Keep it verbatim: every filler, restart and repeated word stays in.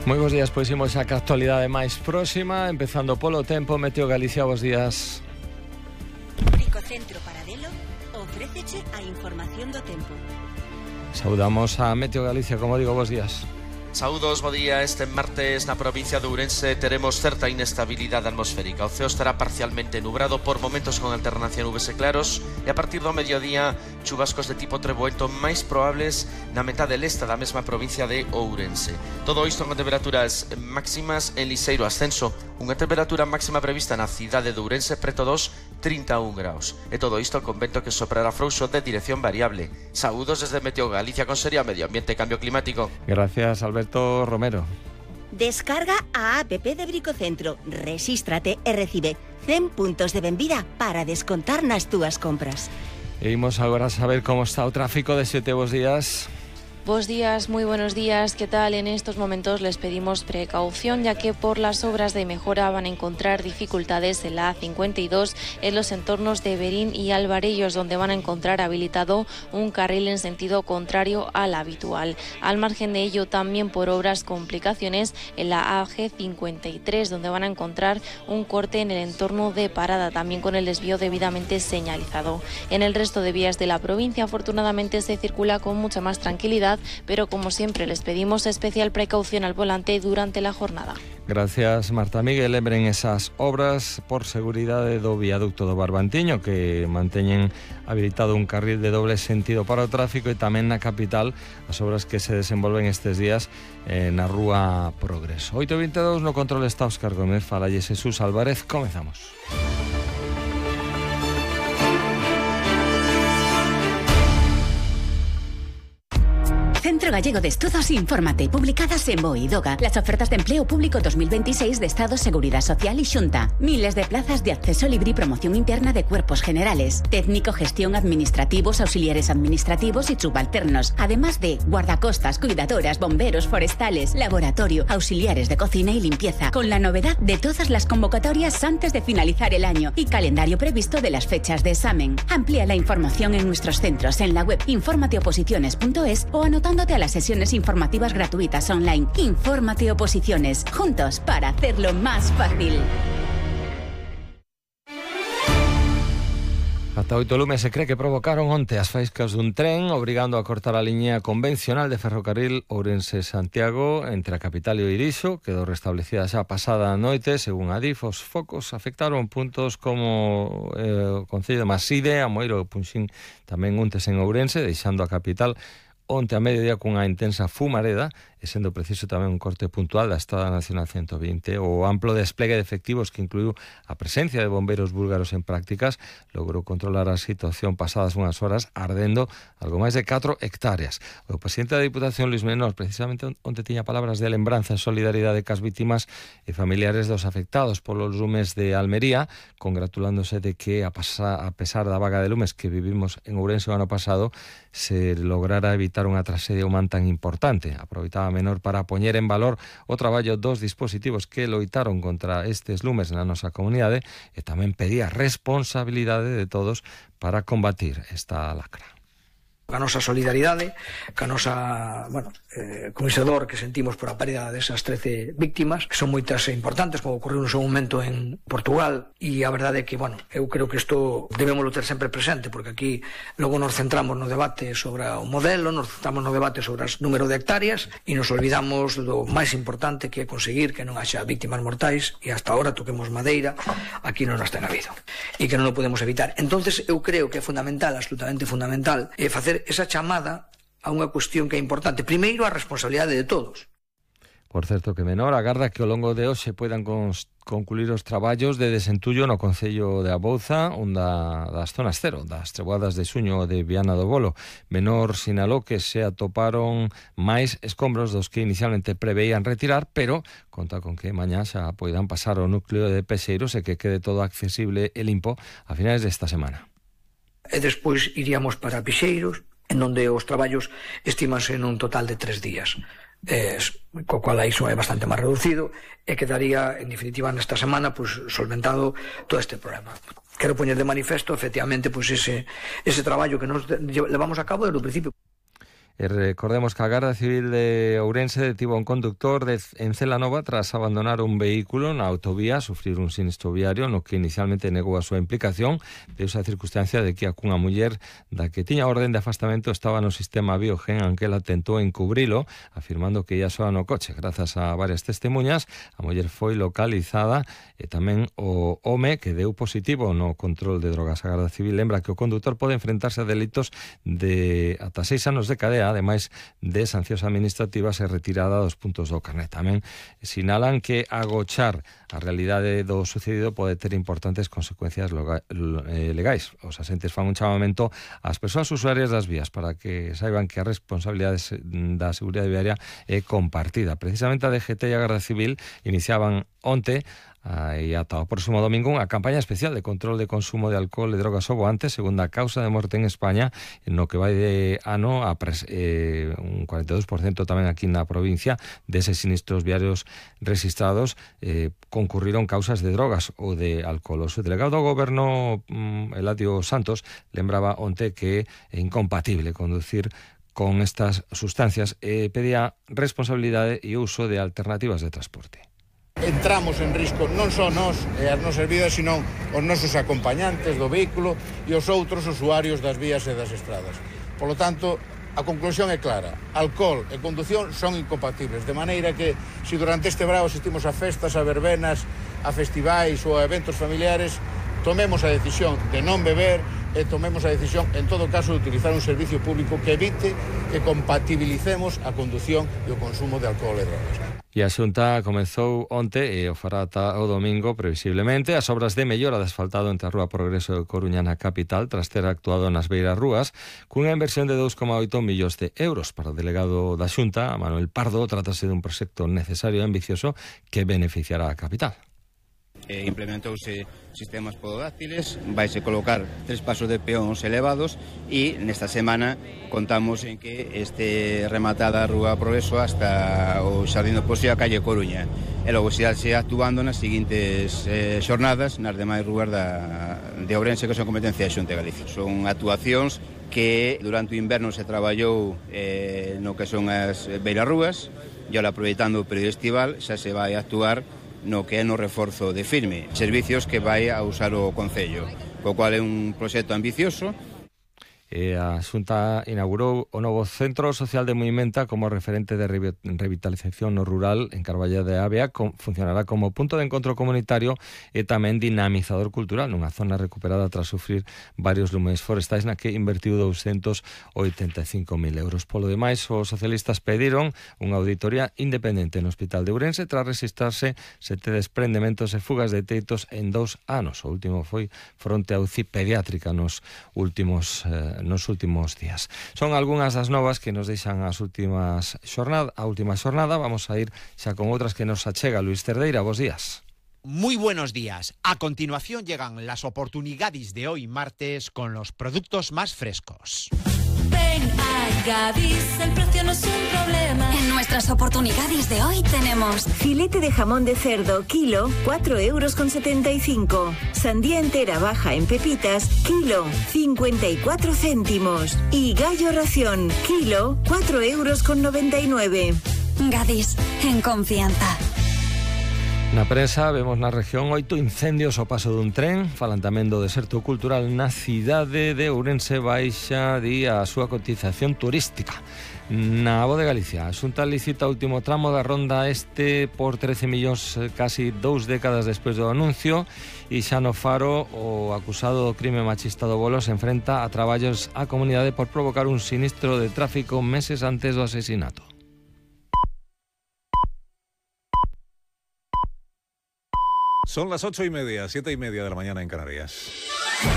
Moi bons días, pois imos a que actualidade máis próxima, empezando polo tempo. Meteo Galicia, bos días. Bricocentro Paradelo ofréceche a información do tempo. Saudamos a Meteo Galicia, como digo, bos días. Saúdos, bo día. Este martes na provincia de Ourense teremos certa inestabilidade atmosférica. O ceo estará parcialmente nubrado, por momentos con alternancia nubes e claros, e a partir do mediodía chubascos de tipo treboento máis probables na metade leste da mesma provincia de Ourense. Todo isto con temperaturas máximas en liseiro ascenso, unha temperatura máxima prevista na cidade de Ourense preto dos trinta e un graus. E todo isto con vento que soprará frouxo de dirección variable. Saúdos desde Meteo Galicia con Seria Medio Ambiente e Cambio Climático. Gracias, Alberto Romero. Descarga a app de Bricocentro, rexístrate e recibe cen puntos de benvida para descontar nas túas compras. E imos agora a saber como está o tráfico de Sete. Bos días. Buenos días, muy buenos días. ¿Qué tal? En estos momentos les pedimos precaución, ya que por las obras de mejora van a encontrar dificultades en la A cincuenta y dos en los entornos de Berín y Alvarellos, donde van a encontrar habilitado un carril en sentido contrario al habitual. Al margen de ello, también por obras complicaciones en la A G cincuenta y tres, donde van a encontrar un corte en el entorno de Parada, también con el desvío debidamente señalizado. En el resto de vías de la provincia, afortunadamente, se circula con mucha más tranquilidad, pero como siempre les pedimos especial precaución al volante durante la jornada. Gracias, Marta Miguel. Lembren esas obras por seguridade do viaducto do Barbantiño, que manteñen habilitado un carril de doble sentido para o tráfico, e tamén na capital as obras que se desenvolven estes días eh, na rúa Progreso. oito e vinte e dous, no control está Óscar Gómez, falalle Jesús Álvarez. Comezamos. Centro Gallego de Estudos Infórmate, publicadas en BOE y DOGA, las ofertas de empleo público dos mil veintiséis de Estado, Seguridad Social y Xunta. Miles de plazas de acceso libre y promoción interna de cuerpos generales, técnico, gestión, administrativos, auxiliares administrativos y subalternos, además de guardacostas, cuidadoras, bomberos, forestales, laboratorio, auxiliares de cocina y limpieza, con la novedad de todas las convocatorias antes de finalizar el año y calendario previsto de las fechas de examen. Amplía la información en nuestros centros en la web informateoposiciones punto es o anotando a las sesiones informativas gratuitas online. Infórmate Oposiciones, juntos para hacerlo más fácil. Ata oito lumes se cree que provocaron onte as faiscas dun tren, obrigando a cortar a liña convencional de ferrocarril Ourense-Santiago entre a capital e o Irixo. Quedou restablecida xa pasada a noite. Según a D I F, os focos afectaron puntos como eh, o Concello de Maside, Amoeiro e Punxín, tamén untes en Ourense, deixando a capital onte a mediodía cunha intensa fumareda, e sendo preciso tamén un corte puntual da Estrada Nacional ciento vinte. O amplo desplegue de efectivos que incluiu a presencia de bombeiros búlgaros en prácticas logrou controlar a situación pasadas unhas horas, ardendo algo máis de catro hectáreas. O presidente da Diputación, Luis Menor, precisamente onte tiña palabras de lembranza e solidaridade cas vítimas e familiares dos afectados polos lumes de Almería, congratulándose de que a, pasa, a pesar da vaga de lumes que vivimos en Ourense o ano pasado, se lograra evitar unha traxedia humana tan importante. Aproveitaba Menor para poñer en valor o traballo dos dispositivos que loitaron contra estes lumes na nosa comunidade, e tamén pedía responsabilidade de todos para combatir esta lacra. A nosa solidaridade, ca nosa, bueno, eh, con ese dor que sentimos por a pérdida desas trece víctimas, que son moitas e importantes, como ocorreu no seu momento en Portugal, e a verdade é que, bueno, eu creo que isto debémoslo ter sempre presente, porque aquí logo nos centramos no debate sobre o modelo, nos centramos no debate sobre o número de hectáreas, e nos olvidamos do máis importante, que é conseguir que non haxa víctimas mortais, e hasta ahora toquemos madeira, aquí non nos ten habido, e que non o podemos evitar. Entonces eu creo que é fundamental, absolutamente fundamental, é facer esa chamada a unha cuestión que é importante. Primeiro, a responsabilidade de todos. Por certo que Menor agarda que ao longo de hoxe poidan concluir os traballos de desentullo no Concello de Abouza, onde das zonas cero, das treboadas de Suño de Viana do Bolo. Menor sinalou que se atoparon máis escombros dos que inicialmente preveían retirar, pero conta con que mañá xa poidan pasar ao núcleo de Pexeiros e que quede todo accesible e limpo a finales desta semana. E despois iríamos para Pixeiros, en onde os traballos estimanse nun total de tres días. Eh, co cual iso é bastante máis reducido, e quedaría, en definitiva, nesta semana, pues, solventado todo este problema. Quero poñer de manifesto, efectivamente, pues, ese, ese traballo que nos levamos a cabo desde o principio. E recordemos que a Garda Civil de Ourense detivo a un conductor de, en Celanova tras abandonar un vehículo na autovía, sufrir un sinistro viario no que inicialmente negou a súa implicación, deuse a circunstancia de que a cunha muller da que tiña orden de afastamento estaba no sistema Biogen, aunque ela tentou encubrilo, afirmando que ia soa no coche. Grazas a varias testemunhas, a muller foi localizada e tamén o home que deu positivo no control de drogas. A Garda Civil lembra que o condutor pode enfrentarse a delitos de ata seis anos de cadea, ademais de sancións administrativas e retirada dos puntos do carnet. Tamén sinalan que agochar a realidade do sucedido pode ter importantes consecuencias legais. Os asentes fan un chamamento ás persoas usuarias das vías para que saiban que a responsabilidade da seguridade viaria é compartida. Precisamente a D G T e a Garda Civil iniciaban onte e ata o próximo domingo unha campaña especial de control de consumo de alcohol e drogas ao volante, segunda causa de morte en España, no que vai de ano a pres, eh, un cuarenta e dous por cento tamén aquí na provincia deses sinistros viarios registrados eh, concurriron causas de drogas ou de alcohol. O subdelegado do Goberno, mm, Eladio Santos, lembraba onte que é incompatible conducir con estas sustancias e pedía responsabilidade e uso de alternativas de transporte. Entramos en risco non só nós e as nosas vidas, sino os nosos acompañantes do vehículo e os outros usuarios das vías e das estradas. Por lo tanto, a conclusión é clara. Alcohol e condución son incompatibles, de maneira que, se durante este brao asistimos a festas, a verbenas, a festivais ou a eventos familiares, tomemos a decisión de non beber e tomemos a decisión, en todo caso, de utilizar un servicio público que evite que compatibilicemos a condución e o consumo de alcohol e drogas. E a Xunta comezou onte e o fará ata o domingo, previsiblemente, as obras de mellora de asfaltado entre a Rúa Progreso de Coruña na capital, tras ter actuado nas beiras rúas, cunha inversión de dous coma oito millóns de euros. Para o delegado da Xunta, Manuel Pardo, trátase dun proxecto necesario e ambicioso que beneficiará a capital. Eh, implementouse sistemas pododáctiles, vaise colocar tres pasos de peóns elevados e nesta semana contamos en que este rematada a Rúa Progreso hasta o Xardín do Poxo e a calle Coruña, e logo se xa actuando nas seguintes eh, xornadas nas demais rúas da, de Ourense, que son competencia da Xunta de Galicia. Son actuacións que durante o inverno se traballou eh, no que son as beirarrúas e ahora, aproveitando o período estival, xa se vai a actuar no que é no reforzo de firme, servicios que vai a usar o Concello, co cual é un proxecto ambicioso. E a Xunta inaugurou o novo Centro Social de Moimenta como referente de revitalización no rural en Carballa de Avea. Funcionará como punto de encontro comunitario e tamén dinamizador cultural nunha zona recuperada tras sufrir varios lumes forestais na que invertiu doscientos oitenta e cinco mil euros. Polo demais, os socialistas pediron unha auditoría independente no Hospital de Ourense tras registrarse sete desprendementos e fugas de teitos en dous anos. O último foi fronte a U C I pediátrica nos últimos eh, nos últimos días. Son algunhas das novas que nos deixan as últimas xornada, a última xornada. Vamos a ir xa con outras que nos achega Luis Cerdeira. Bos días. Muy buenos días. A continuación llegan las oportunidades de hoy martes con los productos más frescos. Ven a Gadis, el precio no es un problema. En nuestras oportunidades de hoy tenemos filete de jamón de cerdo, kilo, cuatro euros con setenta y cinco. Sandía entera baja en pepitas, kilo, cincuenta y cuatro céntimos. Y gallo ración, kilo, cuatro euros con noventa y nueve. Gadis, en confianza. Na prensa vemos na región oito incendios ao paso dun tren. Falan tamén do deserto cultural na cidade de Ourense. Baixa di a súa cotización turística. Na Voz de Galicia, a Xunta licita o último tramo da ronda este por trece millóns, casi dous décadas despois do anuncio. E xa no Faro, o acusado do crime machista do Bolo se enfrenta a traballos á comunidade por provocar un sinistro de tráfico meses antes do asesinato. Son las ocho y media, siete y media de la mañana en Canarias.